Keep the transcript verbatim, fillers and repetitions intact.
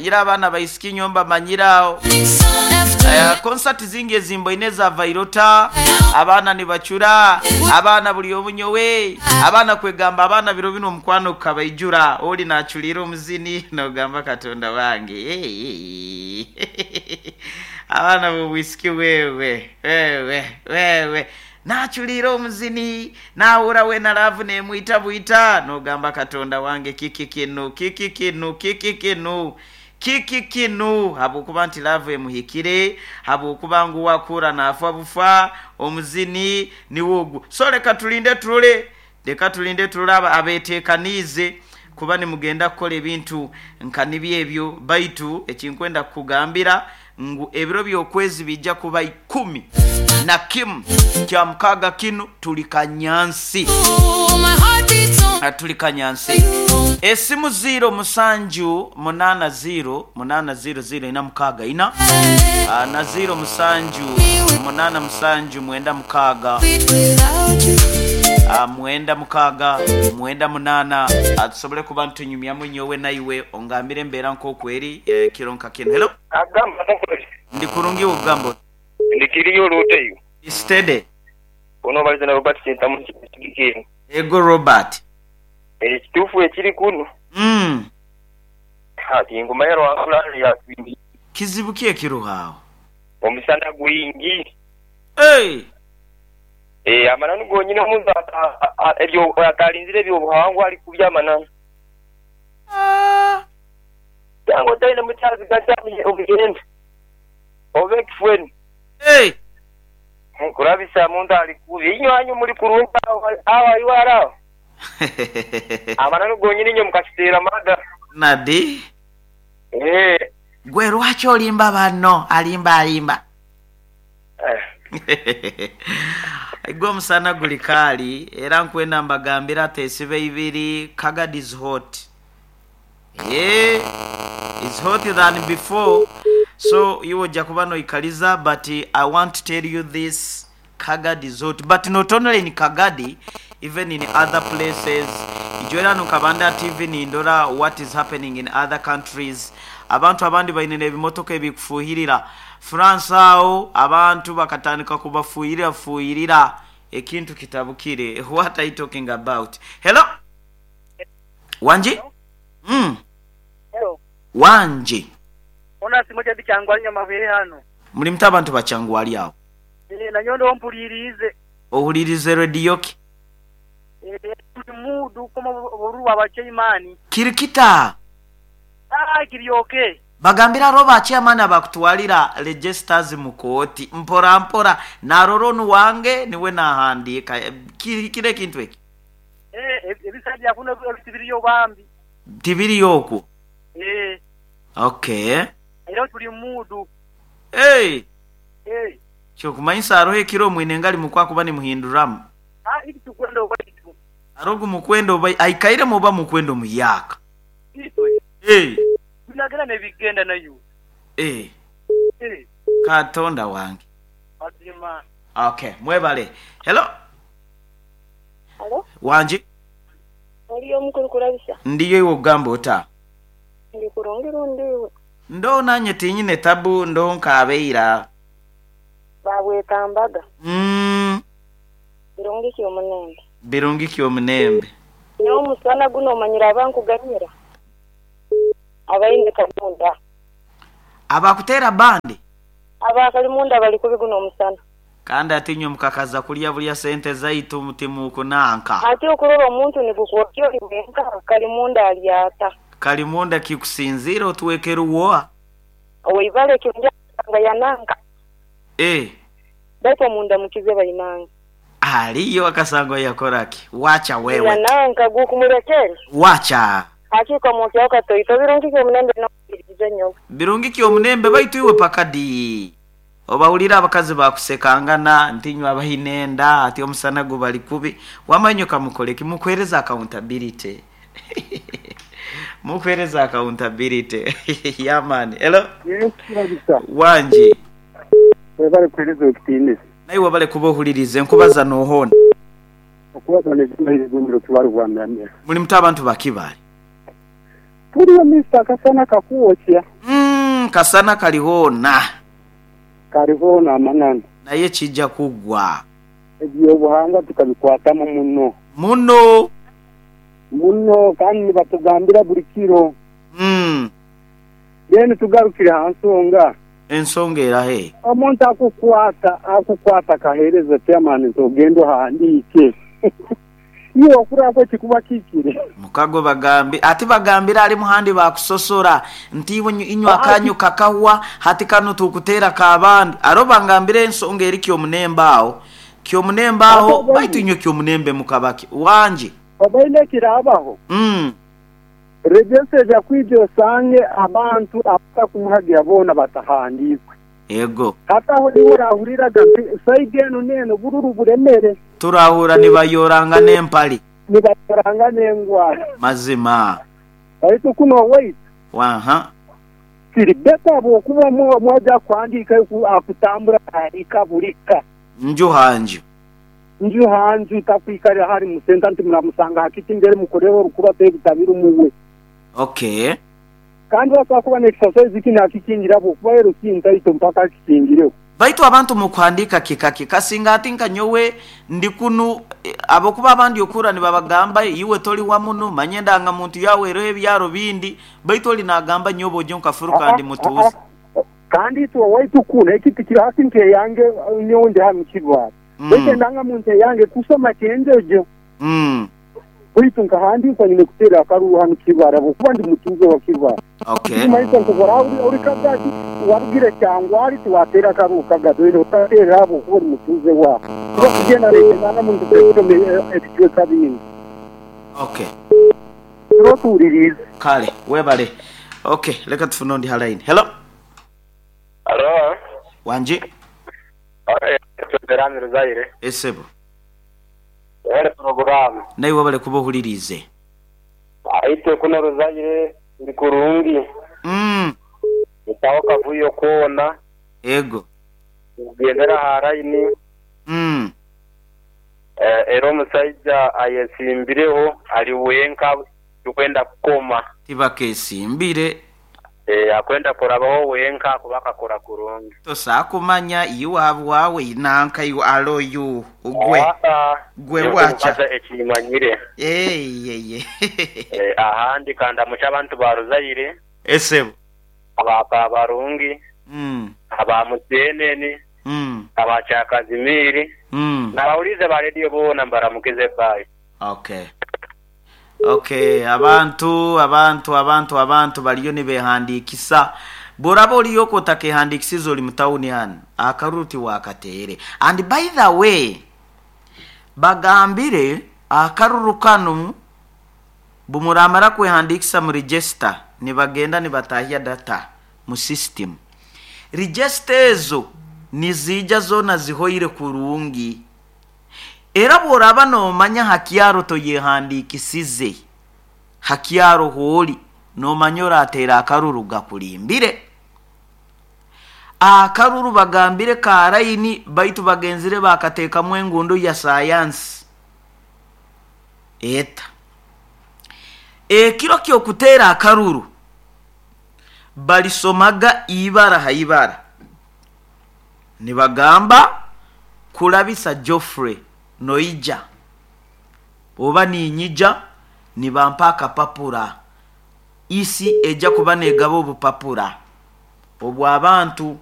Manyira abaana baisiki nyomba manyiraawo. Uh, konsati zingi ezimboine za vairota, abaana nibacura, abaana buli omunyowe, abaana kwegamba abaana biro bino omukwano gukabaijura, oli naculira omuzini nogamba Katonda wange. Hey, hey. Abaana b'obwisiki wewe wewe wewe naculira omuzini nawura wena laavu nemwita bwita nogamba Katonda wange kiki kinu kiki kinu kiki kinu kiki kinu, habwokuba nti laavu emuhikire, habwokuba ngu wakura nafa bufa omuzini niwo ogwo. So leka tulinde tulole, leka tulinde tulole abeteekaniize kuba nimugenda kukola ebintu nka nibyo ebyo. Baitu ekinkwenda kukugambira ngu ebiro by'okwezi bijja kuba ikumi na kimu kya mukaaga kinu tuli kanyansi, tuli kanyansi. Esimu ziro musanju munana ziro munana ziro ziro ina mukaaga ina na ziro musanju munana musanju mwenda mukaaga mwenda mukaaga mwenda munana, atusobole kuba ntunyumyamu nyowe naiwe ongambire embeera nk'okweri kiro nka kino. Hello, ndi kurungi ogamba ndikiriyo oluteyo stede onobaliza na Robert Sentamu kigikeni. Ego Robert, ekituufu ekiri kuno mm ati ngoma ya rwankula ya twindi kizibu ki ekiruhaawo omusana gwingi. Hey! Eh, amananu gonyine omuntu ebyo atalinzire ebyobuhangwa ali kubya amananu. Ah. Yango taine mutyazi gachami obugenda oba ekifweni. Hey! Nkurabisa muntu ali kubi inywanyu muri kurungi awa iwara amananu gonyine nyo mukakiteera maga nadi. Eh, gwe lwaki olimba banno? Alimba alimba. Eh. Gwe omusana guli kaali era nkwenda mbagambira tesibe ibiri. Kagadi is hot. Yeah, is hot than before. So iwe ojja kuba noikaliza, but I want to tell you this, Kagadi is hot, but not only in Kagadi, even in other places. Ijwera nukabanda T V nindora what is happening in other countries. Abantu abandi baine ebimotoka ebikufuhirira. France awo abantu bakatandika kubafuhirira fuhirira ekintu kitabukire. What are you talking about? Hello? Wanji? Mm. Hello. Wanji. Ona simoja bichangwali nyama hano. Muli mta abantu bachangwali awo. Eh, na nyondo ompulirize. Ohulirize radio ki? Eh, mudu koma boruwa abachaimani. Kirikita. Ah, kiryoke. Bagambira roba chairman abakutwalira registers mu kooti mpora mpora naroronu wange niwe nahandika kire kintu eki. Eh, ebisajja kuno ebitibiriyo bambi. Tibiriyo okwo. Eh. Okay. Era tuli mudu. Hey. Eh. Kyokumanyisa aroho ekiro mwine ngali mukwa kuba ni muhinduramu. Ah, iki tukwenda obaitu. Arogu mukwendo oba aikaire muba mukwendo muyaka. Itwe. Eh. Binagera nebigenda nayo. Eh. Eh. Katonda wange. Mazima. Okay, mwebale. Hello. Hello. Wanji. Ndiyo omukuru kurabisa. Ndiyo iwe ogamba ota. Ndi kurungi ndiwe. Ndo nanye tinyine tabu ndo nkabeira. Babwetambaga. Mm. Birungi ki omunembe. Birungi ki omunembe. Nyo omusana guno omanyira abankuganyira. Abaine kalimunda. Abakutera bandi. Abakalimunda bali kubiguno omusana. Kandi atinyo mukakaza kulya bulya sente zaitu mutimu kunanka. Ati okurora omuntu nigukwokyo liwenka kalimunda alyata. Kalimunda kikusinzira otuwekera uwoa. Oibale kirungi nga yananka. Eh. Baitu omunda mukize bayinanga. Aliyo akasango yakoraki. Wacha wewe. Yananka gukumurekera. Wacha. Hakika mwoki akatoito birungi ki omunembe no nyo. Birungi ki omunembe baitu iwe pakadi. Obawulira abakazi bakusekangana ntinywa abahinenda ati omusana gubali kubi wamanyo kamukole kimukwereza accountability. Mukwereza accountability. Yamani. Hello. Yes, kabisa. Wanji. Webale kuhereza ekitiinisa. Naye webale kuba ohulirize nkubaza nohona. Okubaza nezimahire gumiro kibaru bwamyamya. Muli muta abantu bakibali. Tuliyo mister, akasana kakwokya. Mm, kasana kalihoona. Kalihoona amananu. Naye kijja kuggwa. Ebyobuhangwa tukabikwatamu muno. Muno. Muno, kandi nibatugambira buli kiro. Mm. Then tugarukire ha nsonga. Ensonga erahe? Omuntu akukwata akukwata akaheereza chairman nti ogenda ohandiike, iwe okurako kikuba kikire. Mukago bagambi ati bagambira ali muhandi bakusosora nti iwe inywa akanyu kakahwa hati kano tukuteera kabandi aro bangambire ensonga eri kyomunembe aho kyomunembe aho baitu inywe kyomunembe mukabaki wanje. Obaine kirabaho. mm. Register eja kwija osange abantu abatakumuhagira boona batahandiikwe. Ego. Hati aho niwe orahuriraga nti side eno n'eno bururu buremere. Turahura nibayoranga n'empali. Nibayoranga n'engwara. Mazima. Baitu kuno wait. Waha. Kiri better bw'okuba mwaja kuhandiika akutambura ahandiika bulika. Nju hanju. Nju hanju takwikarira hari musenta nti muramusanga hakiti mbere mukorera orukuba tebitabira omuwe. Okay. Kandi basobola kuba n'exercise kino akikingira bw'okuba ero kintaito mpaka akikingireho. Baitu abantu mukuhandika kikaki kasinga ati nka nyowe ndi kunu abokuba abandi okura nibabagamba iwe toli wa muno manye ndanga muntu yawe ero ebyaro bindi baitu oli nagamba nyobo ojo nkafuruka ndi mutuzi. Kandi itwe waitu kuno ekiti kiri hasi nke yange nyowe ndi hano kibara. Mm. Baitu ndanga muntu yange kusoma kyenjojo. Mm. Baitu nkahandikwa nyine kuteera akaruru hano kibara bwokuba ndi mutuze wa kibara. Okay. Maisha nkubora uri kagati warugire cyangwa ari tuwatera akaruru kagati uri utatera abo kuba uri mutuze wa. Kuba kugenda leta ndanga muntu kusoma ebicweka bindi. Okay. Turotuuririze. Kale webale. Okay, leka tufune ondi line. Hello. Hello. Wanje. Tuterani Ruzaire. Esebo. Wale program. Naye wabale kuba ohulirize. Aite kuno Ruzaire ndi kurungi. Mm. Mutaho kavuyo kuona. Ego. Kugendera haraini. Mm. Eh, era omusajja ayesimbireho ali wenka tukwenda kukoma. Tibakesimbire. Eh, akwenda kurabaho wenka kubaka kora kurungi. Tosakumanya iwabwawe inanka iwe aloyu ugwe. Gwe wacha. Ekimanyire. Eh, ye ye. Eh, ahandi kanda mucha abantu ba Ruzaire. Esebo. Abaka barungi. Mm. Aba Musenene. Mm. Aba Chakazimiri. Mm. Nabawulize ba radio bona mbaramukize bye. Okay. Okay, abantu abantu abantu abantu baliyo nibehandikisa. Boraba oliyo kotakehandikisiza oli mutawuni hano akaruti wakateere. And by the way, bagambire akaruru kano bumuramara kwehandikisa mu register nibagenda nibatahya data mu system. Register ezo nizija zona zihoire kurungi. Era bworaba nomanya hakyaro toyehandikisize hakyaro holi nomanya oratera akaruru gakulimbire. Akaruru bagambire karaini baitu bagenzire bakateekamu engundo ya sayansi eta ekiro kyokutera akaruru balisomaga ibara haibara nibagamba kulabisa Geoffrey noija oba ninyija nibampa akapapura isi ejja kuba negaba obupapura obw'abantu.